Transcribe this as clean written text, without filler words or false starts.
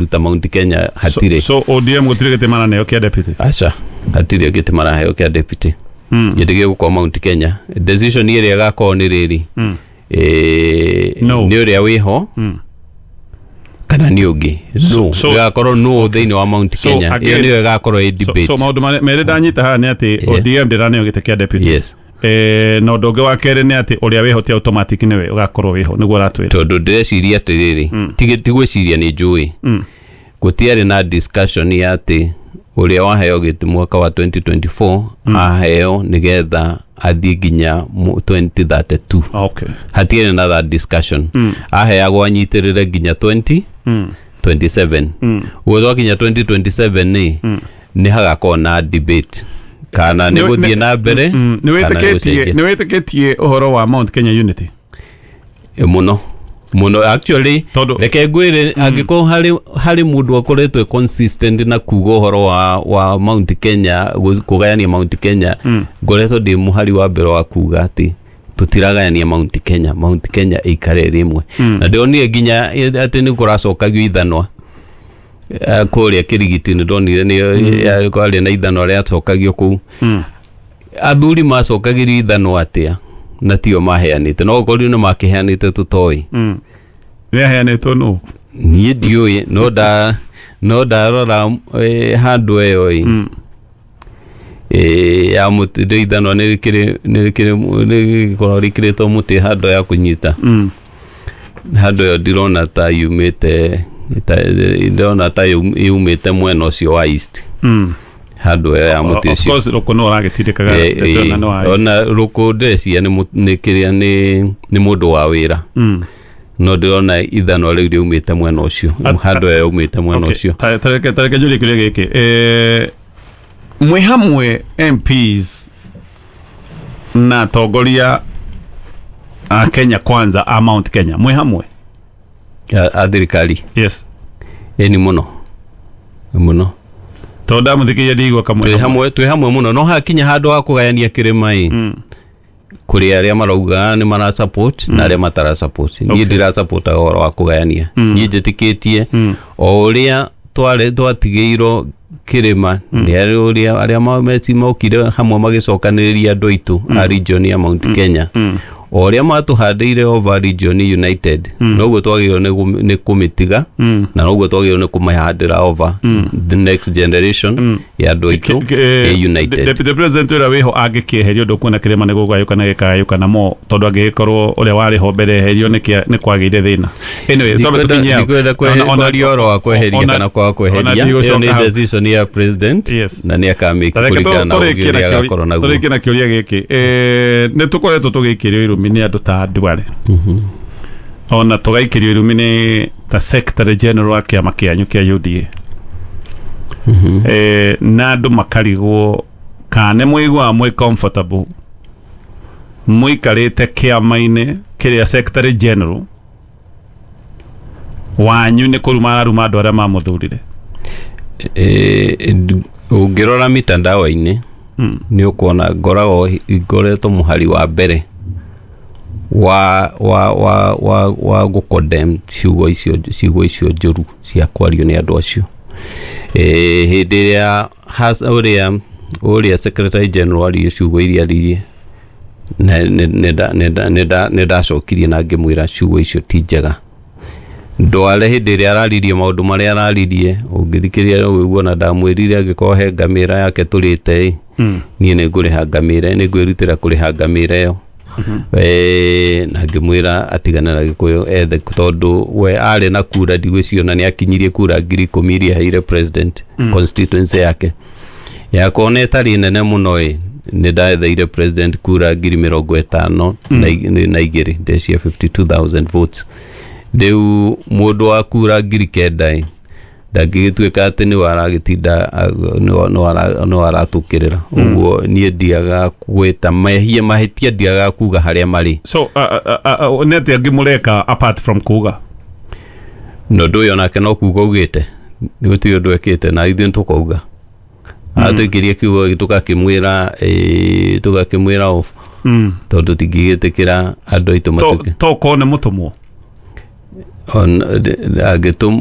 Kũruta Mount Kenya hatirĩ. So ODM gũtirĩ gĩtĩ maraneo kĩa deputy? Aca, hatirĩ gĩtĩ maraheo kĩa deputy. Gĩtĩ gĩgũkorwo Mount Kenya. Decision ĩrĩa ĩgakorwo nĩ rĩrĩ, No. nĩ ũrĩa wĩho kana nĩ ũngĩ no ĩgakorwo no thĩinĩ wa Mount Kenya. Ĩyo nĩyo ĩgakorwo ĩ debate. So maũndũ merĩ ndanyita haha nĩ atĩ ODM ndĩraneo gĩtĩ kĩa deputy. Yes. Na ũndũ ũngĩ wa kerĩ nĩ atĩ ũrĩa wĩho ti automatic nĩwe ũgakorwo wĩho, nĩguo ũratwĩra. Tondũ ndĩreciria atĩrĩrĩ, ti gwĩciria, nĩ njũĩ gũtiarĩ na discussion ya atĩ ũrĩa waheo gĩtĩ mwaka wa 2024 aheo nĩgetha athiĩ nginya 2032. Hatiarĩ na that discussion. Aheagwo anyitĩrĩre nginya 2027. Ũguo twakinya 2027 nĩ hagakorwo na debate kana nĩ gũthiĩ na mbere Nĩ kana nĩ wĩtĩkĩtie gũcenjia. Nĩ wĩtĩkĩtie ũhoro wa Mount Kenya Unity? Mũno mũno actually. Reke ngwĩre, angĩkorwo harĩ mũndũ akoretwo e consistent na kuga ũhoro wa Mount Kenya, kũgayania Mount Kenya, ngoretwo ndĩ mũhari wa mbere wa kuga atĩ tũtiragayania Mount Kenya, Mount Kenya ĩikare ĩrĩ ĩmwe. Na ndĩronire nginya atĩ nĩ kũracokagio ithanwa kũrĩa Kĩrigiti. Nĩ ndonire nĩ kwarĩ na ithanwa rĩacokagio kũu. Athuri macokagĩrio ithanwa atĩa na tio maheanĩte? No gũkorwo nĩ makĩheanĩte, tũtoĩ. Nĩ aheanĩtwo nũ? Niĩ ndiũĩ, no ndarora handũ ĩyo ĩ ya mũtĩ rĩ ithanwa nĩ rĩkĩrĩ nĩ rĩkoragwo rĩkĩrĩtwo mũtĩ handũ ya kũnyita. Handũ ĩyo ndirona ta yumĩte ndĩrona ta yumĩte mwena ũcio wa east, handũ ĩyo ya mũtĩ Of ũcio. course rũkũ no ũragĩtindĩkaga ndeto ĩno nĩ wa East. Ona rũkũ ndĩreciria nĩ kĩrĩa nĩ mũndũ wa wĩra, no ndĩrona ithanwa rĩu rĩumĩte mwena ũcio, handũ ĩyo yaumĩte mwena ũcio. Tareke njũrie kĩũria gĩkĩ. Mwĩ hamwe MPs na atongoria a Kenya Kwanza, a Mount Kenya, mwĩ hamwe? A thirikari? Yes. Ĩni, mũno mũno. Tondũ ndamũthikĩria ndigua kamwe. Twĩ hamwe, twĩ hamwe mũno, no hakinya handũ ha kũgayania kĩrĩma ĩ, kũrĩ arĩa marauga nĩ mara support na arĩa matara support. Niĩ ndira support ũhoro wa kũgayania. Niĩ njĩtĩkĩtie o ũrĩa twarĩ twatigĩirwo kĩrĩma nĩ arĩ ũrĩa arĩa meci mokire hamwe magĩcokanĩrĩria andũ aitũ a region ya Mount Kenya, o ũrĩa matũhandĩire over region united, noguo twagĩrĩirwo nĩ kũmĩtiga na noguo twagĩrĩirwo nĩ kũmĩhandĩra over the next generation ya andũ aitũ ĩ united. Deputy President ũrĩa wĩho angĩkĩeherio, ndũkuona kĩrĩma nĩ gũgayũkana gĩkagayũkana mo, tondũ angĩgĩkorwo ũrĩa warĩ ho mbere eherio nĩ kwagĩire thĩna? Anyway, twambe tũkinye hau. Ndikwenda kwaria ũhoro wa kweheria kana kwaga kweheria. Ona Ĩyo nĩ hau. decision ya president na nĩ akamĩki Tareke kũringana na ũgĩ tũrĩkie ũrĩa na agakorwo naguo. Tũrĩkie na kĩũria gĩkĩ. Nĩ tũkoretwo tũgĩikĩrio irumi nĩ andũ ta Duale, ona tũgaikĩrio irumi nĩ ta Secretary General wa kĩama kĩanyu kĩa UDA, na andũ makarigwo kana nĩ mũiguaga mwĩ comfortable mũikarĩte kĩama-inĩ kĩrĩa Secretary General wanyu nĩ kũruma araruma andũ arĩa mamũthurire. Ũngĩrora mitandao-inĩ nĩ ũkuona ngoragwo ngoretwo mũhari wa mbere wa gũcondemn ciugo icio njũru cia kwario nĩ andũ acio. Hĩndĩ ĩrĩa ũrĩa Secretary General aririe ciugo iria aririe, nĩ ndacokirie na ngĩmwĩra ciugo icio ti njega. Ndware hĩndĩ ĩrĩa araririe maũndũ marĩa araririe, ũngĩthikĩrĩria no ũigue ona ndamwĩrire angĩkorwo he ngamĩra yake tũrĩte ĩ, niĩ nĩ ngũrĩha ngamĩra, nĩ ngwĩrutĩra kũrĩha ngamĩra ĩyo. Na ngĩmwĩra atigane na Gĩkũyũ ethe, tondũ we arĩ na kura ndigwĩciria nĩ akinyirie kura 10,000 iria aheire president constituency yake. Yakwa ona ĩtarĩ nene mũno ĩ, nĩ ndaetheire president kura 52,000, ndecia 52,000 votes. Rĩu mũndũ wa kura 9,000 ĩ, ndangĩgĩtuĩka atĩ nĩwe aragĩtinda nĩwe aratũkĩrĩra ũguo. Niĩ ndiaga gwĩta mehia mahĩtia, ndiaga kuga harĩa marĩ. So nĩ atĩa angĩ mũreka apart from kuga? Na ũndũ ũyũ onake no kuga augĩte, gũtirĩ ũndũ ekĩte, na ithuĩ nĩtũkauga atũikĩrie kiugo tũgakĩmwĩra off, tondũ tingĩgĩtĩkĩra andũ aitũ matuĩke To korwo nĩ mũtũmwo. On angĩtũm